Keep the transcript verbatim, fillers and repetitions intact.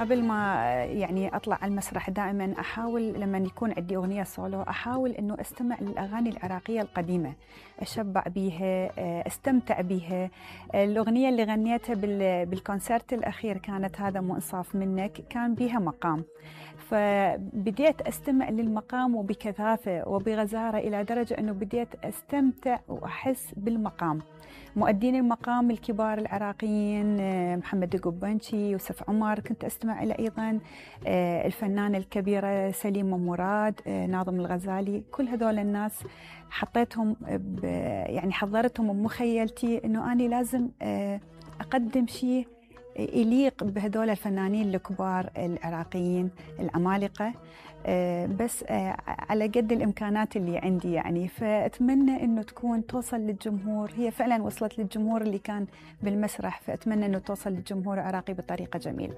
قبل ما يعني أطلع على المسرح دائما أحاول لما يكون عندي أغنية سولو أحاول أنه أستمع للأغاني العراقية القديمة، أشبع بيها، أستمتع بيها. الأغنية اللي غنيتها بالكونسرت الأخير كانت هذا مو إنصاف منك، كان بيها مقام، فبديت أستمع للمقام وبكثافة وبغزارة إلى درجة أنه بديت أستمتع وأحس بالمقام. مؤدين المقام الكبار العراقيين محمد القبنشي، يوسف عمر، كنت أستمع إلى أيضا الفنانة الكبيرة سليمة مراد، ناظم الغزالي، كل هذول الناس حطيتهم يعني حضرتهم بمخيلتي أنه أنا لازم أقدم شيء يليق بهذول الفنانين الكبار العراقيين العمالقة، بس على قد الإمكانات اللي عندي يعني. فأتمنى أنه تكون توصل للجمهور، هي فعلا وصلت للجمهور اللي كان بالمسرح، فأتمنى أنه توصل للجمهور العراقي بطريقة جميلة.